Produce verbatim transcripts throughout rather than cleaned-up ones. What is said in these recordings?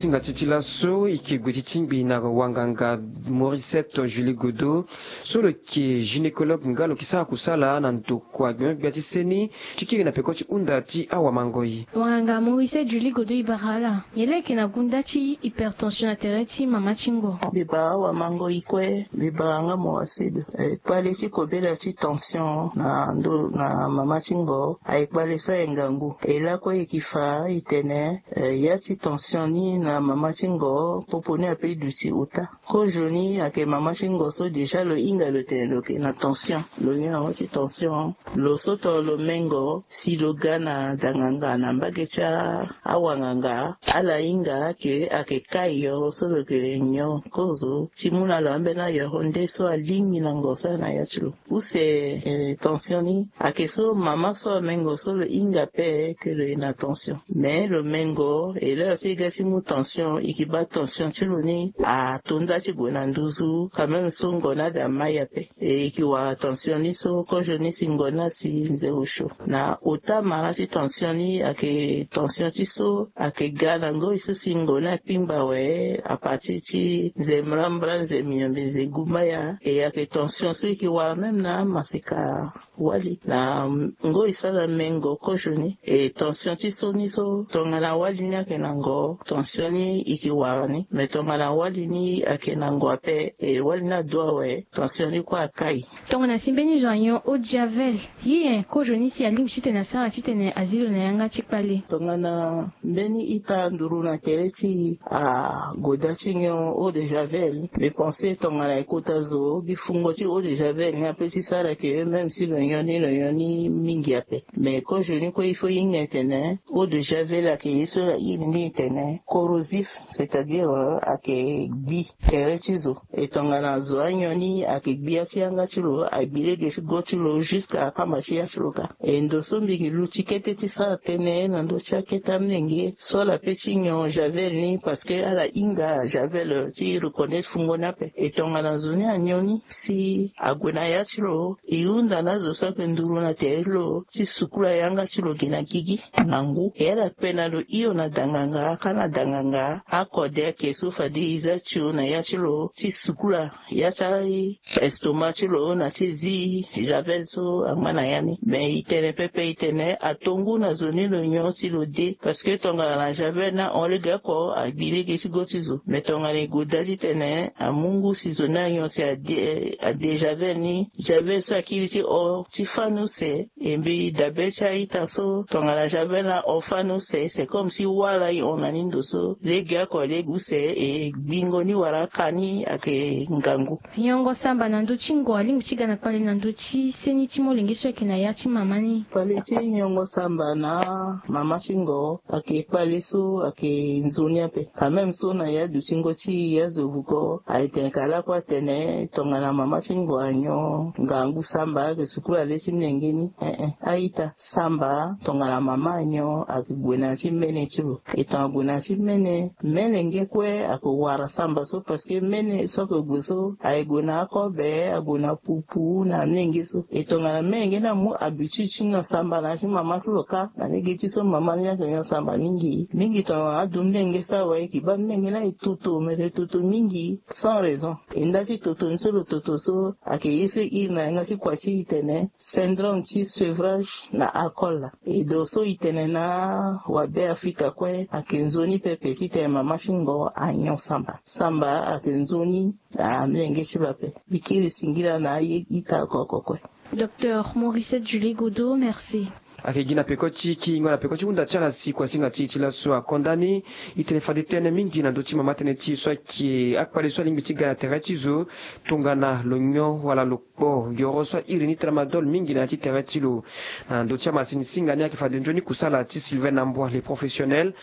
Singa ti ti laso e ke gue ti tingbi na wanganga Morisset Julie Godo, so lo ke gynécologue nga lo ke sara kusala na ndokua gbia gbia ti seni ti kiri na peko ti hunda ti awamangoi. Wanganga Morisset Julie Godo, e bara ala nyen la e ke na gunda ti hypertension na tere ti mama ti ngo? Mbi bara awamangoi kue, mbi bara nga Morisset. Eh, kpale ti kobela ti tension na ndo na mama ti ngo aye kpale so aye ngangu. E lakue e ke fa e tene, eh, ya ti tension ni na mama ti ngo popo ni ape e duti ota. Kozo ni ayeke mama ti ngo so déjà lo hinga lo tene lo yeke na tension. Lo nyon na ngo ti tension. Lo so tongana lo mengo si lo ga na danganga na mbage ti awanganga, ala hinga ayeke, ayeke kai yoro so lo yeke nyon kozo ti mu na lo ambeni ayoro nde so alingbi na ngo so aye na ya ti lo. Use, eh, tension ni ayeke so mama so amengo so lo hinga ape ke lo ye na tension. Mais lo mengo e lere so e ga ti mu tension, e ke baa tension ti lo ni ato nda ti gue na nduzu, quand même so ngo ni ade amai ape. E, e ke wara tension ni so kozo ni si ngo ni asi nze osio. Na ota mara ti tension ni ayeke tension ti so ayeke ga na ngoi so si ngo ni akpingba awe, à partir ti nze mbrambra, nze miombe, nze gumbaya. E ayeke tension so e ke wara même na amaseka wali. Na ngoi so ala mengo kozo ni, e tension ti so ni so tongana wali ni ayeke na ngo, tension ni e ke wara ni. Mais tongana wali ni ayeke na ngo ape, e wali ni adu awe, tension ni kue akai. Tongana si mbeni zo anyon eau de javel, ye nyen kozo ni si alingbi titene asara titene azi lo na yanga ti kpale? Tongana mbeni ita nduru na tere ti agoda ti nyon eau de javel, mbi pense tongana e kota zo gi fungo ti eau de javel ni ape ti sara ke même si lo nyon ni, lo nyon ni mingi ape. Mais kozo ni kue il faut e hinga e tene eau de javel ayeke ye so airi ni e tene corrosif, c'est-à-dire, euh, ayeke gbi tere ti zo. E tongana zo anyon ni ayeke gbi ya ti yanga ti lo, agbi lege ti go ti lo jusqu'à akamba ti ya ti lo ka. E ndo so mbi ke luti kete ti sara tënë na ndö ti akete amolenge so ala pe ti nyon javel ni, parce que ala hinga javel ti reconnaître fungo ni ape. E tongana zo ni anyon ni si ague na ya ti lo, e hunda na azo so ayeke nduru na tere ti lo ti sukula yanga ti lo gi na gigi na ngu. E ala kpe na lo hio na danganga, ka na danganga akode ayeke so fade e za tio na ya ti lo ti sukula ya ti estoma ti lo na ti zi javel so angba na ya ni. Me e tene pepe e tene ato ngu na zo ni lo nyon si lo de, parce que tongana na javel ni ahon lege oko agbi lege ti go ti zo. Me tongana e gue da titene amu ngu si zo ni anyon si ade, ade javel ni, javel so akiri ti hon ti fâ ni use. E mbi dabe ti a-ita so tongana javel ni ahon fâ ni use, c'est comme si wâ laa e hon na ni ndo so, lege oko lege use, e gbingo ni wala aka ni ayeke ngangu. Nyongo samba na ndö ti ngo alingbi ti ga na kpale na ndö ti seni ti molenge so ayeke na ya ti mama ni? Kpale ti nyongo samba na mama ti ngo ayeke kpale so ayeke nzoni ape. Quand même so na ya dutingo ti e azo vuko aye tene ka lakue atene tongana mama ti ngo anyon ngangu samba ayeke sukula le ti molenge ni. Eh eh, a-ita, samba tongana mama anyon ayeke gue na ya ti mene ti lo. E tongana gue na ya ti mene, mene nge kue ayeke wara samba so, parce que mene so ayeke gue so aye gue na akobe, ague na pupu na amolenge so. E tongana mene nge ni amu habitude ti nyon samba na ya ti mama ti lo ka, na lege ti so mama ni ayeke nyon samba mingi. Mingi tongana adu mene nge so awe, e ke baa mene nge ni aye toto, me lo toto mingi sans raison. E nda ti toto ni so lo toto so ayeke ye so e iri na yanga ti kua ti e tene syndrome ti sevrage na alcool. E do so e tene na wabe Afrika kue ayeke nzoni pepe titene mama ti ngo anyon samba. Samba ayeke nzoni na amolenge ti lo ape. Mbi kiri singila na aye ita oko oko kue. Docteur Maurice Julie Godo, merci. Ayeke gi na peko ti kingo na peko ti hunda ti ala si kuasinga ti e ti laso akonda ni. E tene fade tënë mingi na ndö ti mama tënë ti e so ayeke akpale so alingbi ti ga na tere ti zo tongana lo nyon wala lo kpo yoro so airi ni tramadol mingi na ya ti tere ti lo. Na ndö ti amasini singa ni ayeke fade nzoni kusala ti Sylvain Nambwa, le professionnel.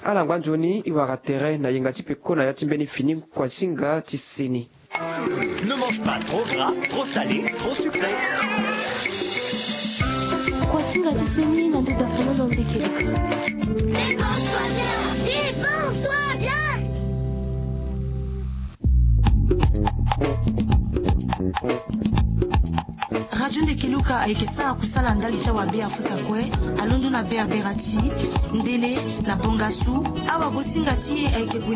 Ala ngba nzoni e wara tere na yenga ti peko na ya ti mbeni fini kuasinga ti seni. Ne mange pas trop gras, trop salé, trop sucré. Kuasinga ti seni na ndö dafololo ndeke. Dépense-toi bien, dépense-toi bien. Radio Ndeke Luka. Ayeke sara kusala ndali ti awabe afrika kue. Alondo na berbera ti ndele na bongasu. Awagosinga ti e ayeke gue